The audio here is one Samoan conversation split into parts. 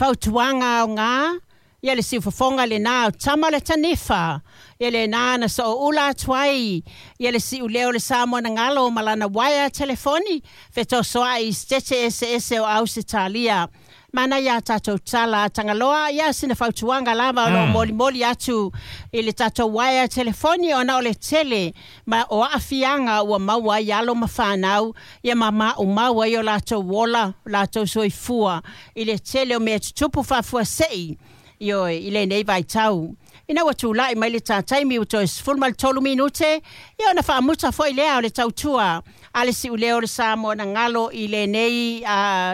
Fautuaga aoga, ia le siufofoga lenā o tama o le tanifa, ia lenā na sooula atu ai ia le siuleo o le Samoa na galo ma lana uaea telefoni fetosoa'i i setete eseese o Ausetalia. Manaia a tatou tala Tagaloa, ia sina fautuaga lava o loo molimoli atu i le tatou uaea telefoni ona o le tele ma o aafiaga ua maua ai alo ma fanau ia ma maumau ai o latou ola, latou soifua i le tele o mea tutupu faafuasei ioe i lenei vaitau. Ina ua tula'i mai le tā taimi ua toe 13 minute, ia ona faamuta foi lea o le tautua a le siuleo o le Samoa na galo i lenei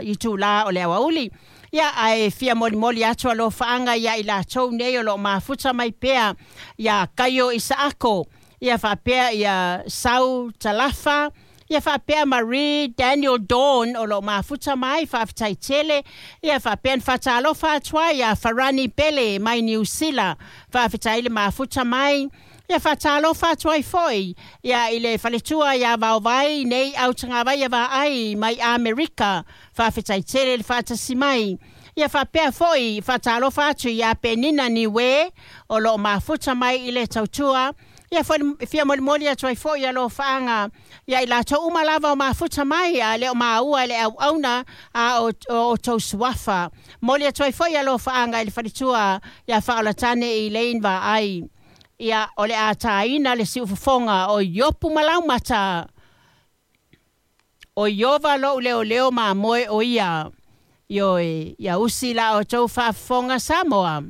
itulā o le aoauli. Ia ae fia molimoli atu alofaaga ia i latou nei o loo mafuta mai pea ia Kaio Isaako, ia faapea ia Sau Talafa, ia faapea Marie Daniel Dawn o loo mafuta mai, faafetai tele. Ia faapea na faatalofa atu ai ia Farani Pele mai Niu Sila, faafetai le mafuta mai. Ia faatalofa atu ai foi ia i le faletua ia Vaovai nei Autagavaia Vaai mai Amerika, faafetai tele le faatasi mai. Ia faapea foi faatalofa atu ia Penina Niue o loo mafuta mai i le tautua. Ia fia molimoli atu ai foi alofaaga ia i latou uma lava o mafuta mai a le o maua i le auauna a o outou suafa. Moli atu ai foi alofaaga i le faletua ia Faaolatane i Lane Vaai. Ia o le a taina le siufofoga o Iopu ma Laumata. O Iova lou leoleo mamoe o ia. Ioe, ia usi la outou faafofoga Samoa.